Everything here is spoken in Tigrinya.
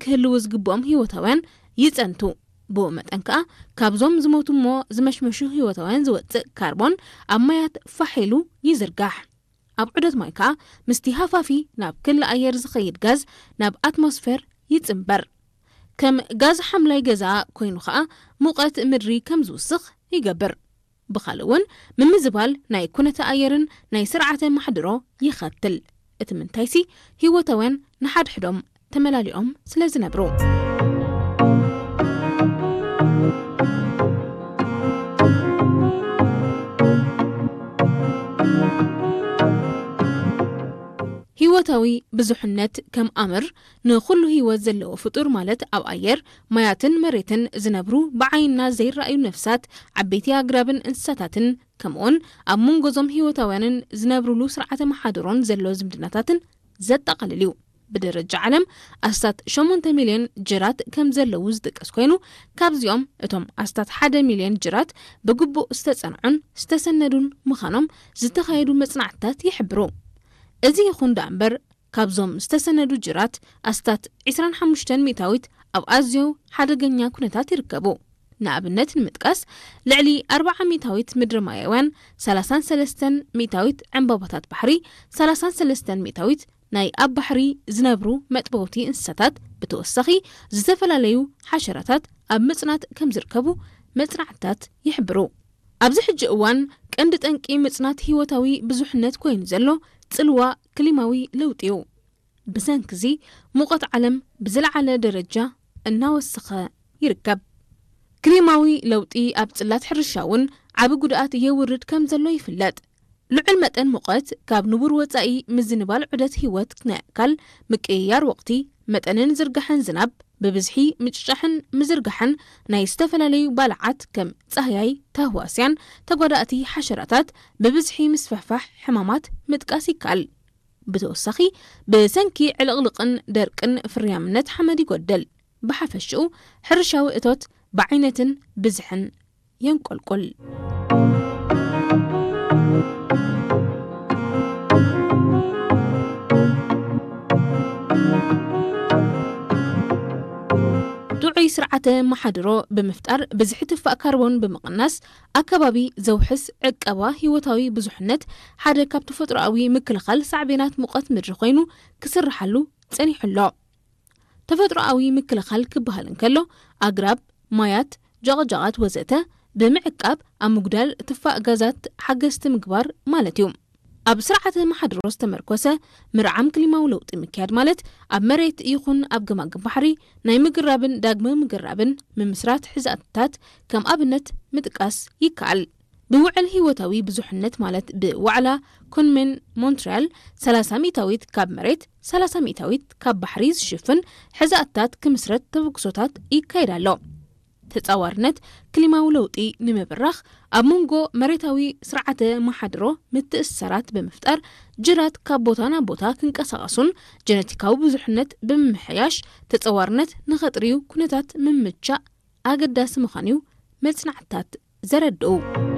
ክህልዉ ዝግብኦም ህይወታውያን ይጸንቱ። ብኡ መጠን ከኣ ካብዞም ዝሞቱ እሞ ዝመሽመሹ ህይወታውያን ዝወጽእ ካርቦን ኣብ ማያት ፋሕ ኢሉ ይዝርጋሕ። ኣብ ዑደት ማይ ከኣ ምስቲ ሃፋፊ ናብ ክሊ ኣየር ዝኸይድ ጋዝ ናብ ኣትሞስፌር ይጽንበር። ከም ጋዝ ሓምላይ ገዛ ኮይኑ ከኣ ሙቐት ምድሪ ከም ዝውስኽ ይገብር። ብኻልእ እውን ምምዝባል ናይ ኩነተ ኣየርን ናይ ስርዓተ ማሕድሮ ይኸትል። እቲ ምንታይሲ ህይወታውያን ንሓድሕዶም ተመላሊኦም ስለ ዝነብሩ። ህይወታዊ ብዙሕነት ከም ኣምር ንኹሉ ህይወት ዘለዎ ፍጡር ማለት ኣብ ኣየር፣ ማያትን መሬትን ዝነብሩ ብዓይንና ዘይረኣዩ ነፍሳት፣ ዓበይቲ ኣግራብን እንስሳታትን ከምኡውን ኣብ መንጎዞም ህይወታውያንን ዝነብሩሉ ስርዓተ መሓድሮን ዘሎ ዝምድናታትን ዘጠቓልል እዩ። ብደረጃ ዓለም ኣስታት ሸሞንተ ሚልዮን ጅራት ከም ዘለዉ ዝጥቀስ ኮይኑ፣ ካብዚኦም እቶም ኣስታት ሓደ ሚልዮን ጅራት ብግቡእ ዝተጸንዑን ዝተሰነዱን ምዃኖም ዝተኻየዱ መጽናዕትታት ይሕብሩ። እዚ ይኹን ደኣ እምበር፣ ካብዞም ዝተሰነዱ ጅራት ኣስታት ዕስራን ሓሙሽተን ሚእታዊት ኣብ ኣዝዮ ሓደገኛ ኩነታት ይርከቡ። ንኣብነት ንምጥቃስ፣ ልዕሊ ኣርብዓ ሚእታዊት ምድሪ ማያውያን፣ ሰላሳን ሰለስተን ሚእታዊት ዕምባባታት ባሕሪ፣ ሰላሳን ሰለስተን ሚእታዊት ናይ ኣብ ባሕሪ ዝነብሩ መጥበውቲ እንስሳታት፣ ብተወሳኺ ዝተፈላለዩ ሓሸራታት ኣብ ምጽናት ከም ዝርከቡ መጽናዕትታት ይሕብሩ። ኣብዚ ሕጂ እዋን ቀንዲ ጠንቂ ምጽናት ህይወታዊ ብዙሕነት ኮይኑ ዘሎ ጽልዋ ክሊማዊ ለውጢ እዩ። ብሰንኪ እዚ ሙቐት ዓለም ብዝለዓለ ደረጃ እናወሰኸ ይርከብ። ክሊማዊ ለውጢ ኣብ ጽላት ሕርሻ እውን ዓቢ ጉድኣት የውርድ ከም ዘሎ ይፍለጥ። ልዑል መጠን ሙቐት ካብ ንቡር ወጻኢ ምዝንባል ዑደት ህይወት ናይ ኣካል፣ ምቅይያር ወቕቲ፣ መጠንን ዝርጋሐን ዝናብ፣ ብብዝሒ ምጭጫሕን ምዝርጋሕን ናይ ዝተፈላለዩ ባልዓት ከም ጻህያይ፣ ታህዋስያን፣ ተጓዳእቲ ሓሸራታት፣ ብብዝሒ ምስፍሕፋሕ ሕማማት ምጥቃስ ይከኣል። ብተወሳኺ ብሰንኪ ዕልቕልቕን ደርቅን ፍርያምነት ሓመድ ይጎድል። ብሓፈሽኡ ሕርሻዊ እቶት ብዓይነትን ብዝሕን የንቆልቁል። ጥዑይ ስርዓተ መሓድሮ ብምፍጣር ብዝሒ ትፋእ ካርቦን ብምቕናስ ኣከባቢ ዘውሕስ ዕቀባ ህይወታዊ ብዙሕነት ሓደ ካብ ተፈጥሮኣዊ ምክልኻል ሳዕቤናት ሙቐት ምድሪ ኮይኑ ክስርሓሉ ጸኒሑ ኣሎ። ተፈጥሮኣዊ ምክልኻል ክበሃል እንከሎ ኣግራብ፣ ማያት፣ ጃቕጃቓት ወዘተ ብምዕቃብ ኣብ ምጉዳል ትፋእ ጋዛት ሓገዝቲ ምግባር ማለት እዩ። ኣብ ስርዓተ መሓድሮ ዝተመርኮሰ ምርዓም ክሊማዊ ለውጢ ምክያድ ማለት ኣብ መሬት ይኹን ኣብ ገማግም ባሕሪ ናይ ምግራብን ዳግመ ምግራብን ምምስራት ሕዛእትታት ከም ኣብነት ምጥቃስ ይከኣል። ብውዕል ህይወታዊ ብዙሕነት ማለት ብዋዕላ ኮንሜን ሞንትሪያል ሰላሳ ሚእታዊት ካብ መሬት፣ ሰላሳ ሚእታዊት ካብ ባሕሪ ዝሽፍን ሕዛእትታት ክምስረት ተበግሶታት ይካየድ ኣሎ። ተጻዋርነት ክሊማዊ ለውጢ ንምብራኽ ኣብ መንጎ መሬታዊ ስርዓተ መሓድሮ ምትእስሳራት ብምፍጣር ጅራት ካብ ቦታ ናብ ቦታ ክንቀሳቐሱን ጀነቲካዊ ብዙሕነት ብምምሕያሽ ተጻዋርነት ንኸጥርዩ ኩነታት ምምቻእ ኣገዳሲ ምዃኑ እዩ መጽናዕትታት ዘረድኡ።